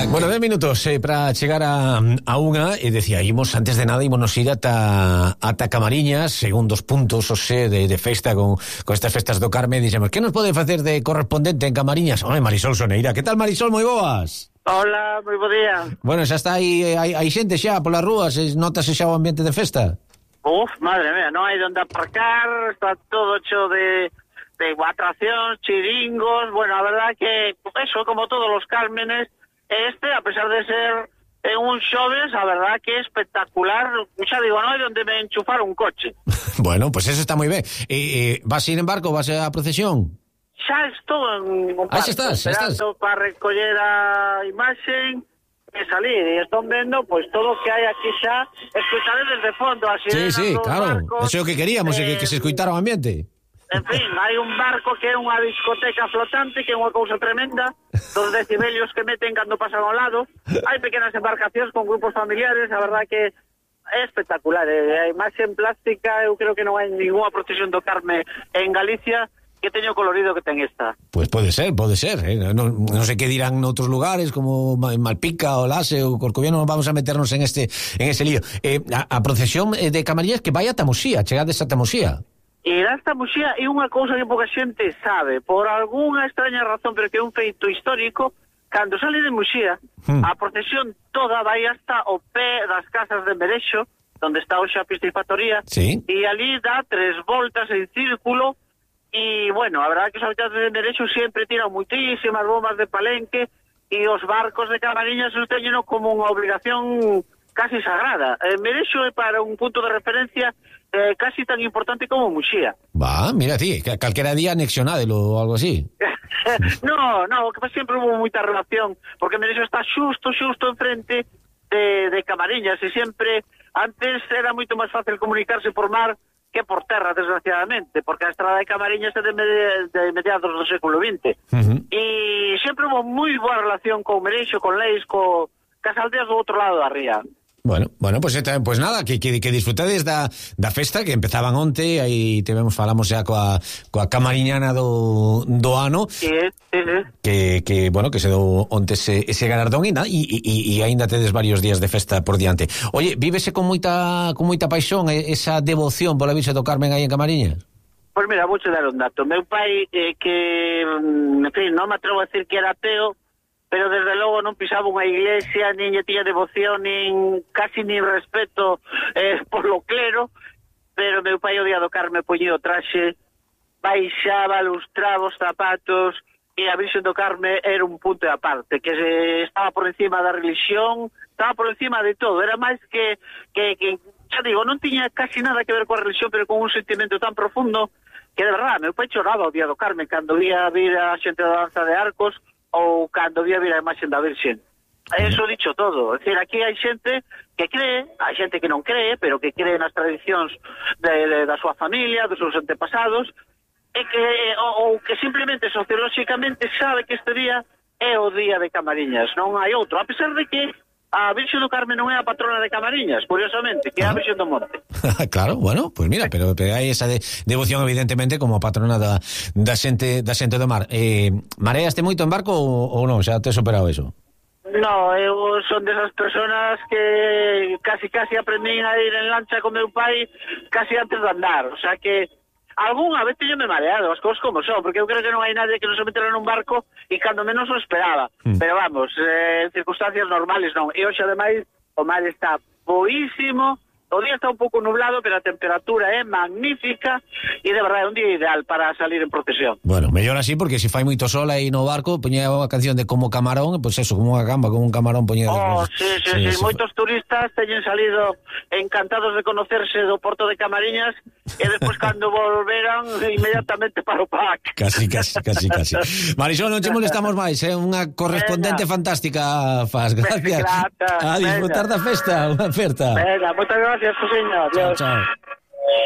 Bueno, 10 minutos para chegar a unha, e decía, imos antes de nada ímonos ir ata Camariñas, según dos puntos de festa con estas festas do Carme. Dixemos, que nos pode facer de correspondente en Camariñas? Oi, Marisol Soneira, que tal, Marisol? Moi boas. Hola, moi bo día. Bueno, xa está aí, hai xente xa polas rúas, notase xa o ambiente de festa? Madre mía, non hai onde aparcar, está todo hecho de atraccións, chiringos. Bueno, a verdad que eso, como todos los Cármenes, a pesar de ser un xoves, a verdad que é espectacular. Xa digo, non hai onde me enchufar un coche. Bueno, pues eso está moi ben. Vas ir en barco, vas a procesión? Xa estou en un barco, esperando para recoller a imaxen e salir, e están vendo pois todo o que hai aquí xa. Escutaré desde fondo as sirenas sí, claro, barcos. Eso é o que queríamos, que se escuitara o ambiente. En fin, hai un barco que é unha discoteca flotante, que é unha cousa tremenda, dos decibelios que meten cando pasan ao lado. Hai pequenas embarcacións con grupos familiares, a verdad que é espectacular. A imaxe en plástica, eu creo que non hai ninguna procesión do Carme en Galicia que teño colorido que ten esta. Pues pode ser. Non sei que dirán noutros lugares, como Malpica, o Lase, ou Corcoviano, non vamos a meternos en ese lío. A procesión de Camariñas que vai ata Muxía, chegades ata Muxía. E esta Muxía é unha cousa que pouca xente sabe, por algunha extraña razón, pero que é un feito histórico. Cando sale de Muxía, a procesión toda vai hasta o pé das casas de Merexo, onde está hoxe a piscifactoría, sí. E ali dá 3 voltas en círculo. E, bueno, a verdade que os habitantes de Merexo sempre tiran muitísimas bombas de palenque, e os barcos de Camariñas os teñen como unha obligación casi sagrada. Merexo é para un punto de referencia casi tan importante como Muxía. Mira, sí, calquera día anexionádelo ou algo así. No, que sempre hubo moita relación, porque Merexo está xusto enfrente de Camariñas, e sempre, antes era moito máis fácil comunicarse por mar que por terra, desgraciadamente, porque a estrada de Camariñas é de mediados do século XX. E sempre hubo moi boa relación con Merexo, con Leis, cas aldeas do outro lado da ría. Bueno, pues nada, que disfrutades da festa que empezaban onte, aí falamos xa coa camariñana do ano. Sí. Que bueno, que se dou onte ese galardón e aínda tedes varios días de festa por diante. Oye, vívese con moita paixón esa devoción pola Virxe do Carmen aí en Camariñas? Pois mira, vou che dar un dato. Meu pai, que, en fin, non me atrevo a decir que era ateo, pero desde logo non pisaba unha iglesia, nin lle tiña devoción, casi nin respeto por lo clero, pero meu pai o día do Carme poñía o traxe, baixaba, lustraba os zapatos, e a Virxen do Carme era un punto de aparte, que estaba por encima da religión, estaba por encima de todo, era máis que xa digo, non tiña casi nada que ver coa religión, pero con un sentimento tan profundo, que de verdade, meu pai choraba o día do Carme, cando vía vir a xente da danza de arcos, ou cando vía vir a imaxen da Virxen. Eso dicho todo. É dicir, aquí hai xente que cree, hai xente que non cree, pero que cree nas tradicións da súa familia, dos seus antepasados, e que ou que simplemente sociolóxicamente sabe que este día é o día de Camariñas, non hai outro, a pesar de que a Virxe do Carme non é a patrona de Camariñas, curiosamente, que é a Virxe do Monte. Claro, bueno, pues mira, pero hai esa devoción evidentemente como a patrona da xente do mar. Mareaste moito en barco ou non? Xa te superado eso? No, eu son desas personas que casi aprendín a ir en lancha con meu pai casi antes de andar, o sea que algunha vez teño me mareado, as cousas como son, porque eu creo que non hai nadie que non se metera nun barco e cando menos o esperaba. Pero vamos, en circunstancias normales non. E hoxe, ademais, o mar está boísimo, o día está un pouco nublado, pero a temperatura é magnífica e de verdade é un día ideal para salir en procesión. Bueno, mellor así, porque se fai moito sol aí no barco, poñía a canción de Como Camarón, pois eso, como unha gamba, como un camarón poñía. Sí. Moitos turistas teñen salido encantados de conocerse do porto de Camariñas e despois cando volveran inmediatamente para o PAC. Casi. Marisol, non che molestamos máis, unha correspondente fantástica faz, gracias. A disfrutar da festa, unha oferta. Venga, moitas gracias, señor. Chao.